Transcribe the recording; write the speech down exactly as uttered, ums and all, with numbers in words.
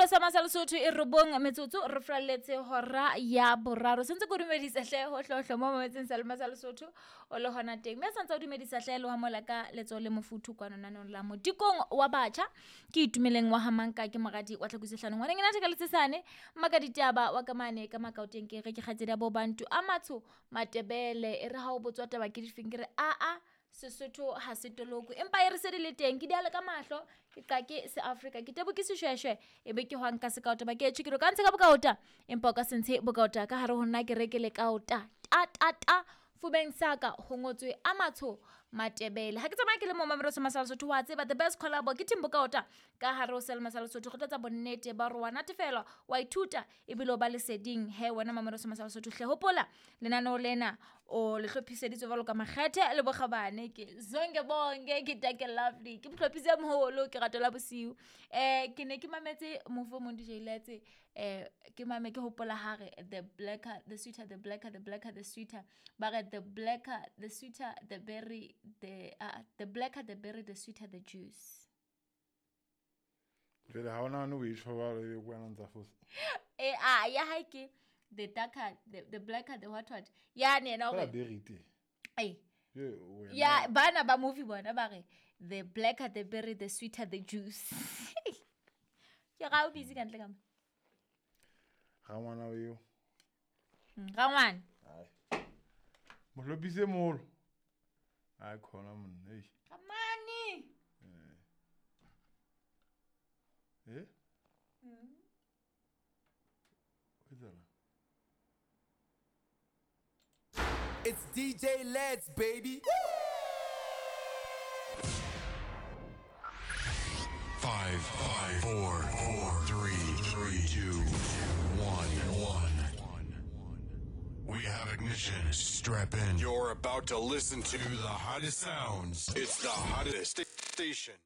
Mamelo sa Masala Sotho e robong metsotso re fralletse hora ya boraro. Sentse ko dumedisa hle ho hlohlo mo mametseng sa Masala Sotho o le hona teng. Mme santse o dumedisa hle le wa mola ka letsoho le mofuthu kwano nanong la modikong wa batjha. Ke itumeleng wa hamanka ke moradi wa Tlhakusi hlano. Ngwaneng ena theka letsesane maka ditaba wa ka mane ka makaoteng ke re ke kgatsedi ya bo bantu a matsho matebele e re ha o botswa taba ke difeng ke re a a Sesotho ha se toloko empa e re se di le teng ke diale ka mahlo ke qake se Afrika ke tebo ke seshweshwe e be ke hwang ka sekaota ba ke tjhikiro ka ntshe ka bokaota empa o ka se ntshe bokaota ka hare ho nna ke reke le kaota ta ta ta fubeng saka ho ngotswe a matsho matebele ha ke tsamaya ke le mo Mamelo sa Masala Sotho wa tseba the best collabo ke team bokaota ka hare ho sel Masala Sotho go tlatsa bonnete ba re wa natefelwa wa ithuta ebile o ba leseding he wena Mamelo sa Masala Sotho hle hopola lenaneo lena o le hlophiseditswe jwalo ka makgethe le bokgabane ke zonke bonke ke take lovely ke mohlopise moholo ke ratola bosiu eh ke ne ke mametse mofo mong D J Letse eh ke mame ke hopola hare the blacker the sweeter the blacker the blacker the sweeter ba re the blacker the sweeter the berry the uh, the blacker the berry the sweeter the juice. Jwale ha ona no e tjho ba re wena ntsa fosa eh ah ya ha ke the darker the, the blacker the what what ya ne na hore berry te eh ya bana ba movie bona ba re the blacker the berry the sweeter the juice. Ke ga o busy ka ntle ka mo ga ngwana o eo ga ngwana ai mohlopise moholo ai khona monna ei kamani eh eh mm It's D J Leds, baby. Five, five, four, four, three, three, two, one, one. We have ignition. Strap in. You're about to listen to the hottest sounds. It's the hottest station.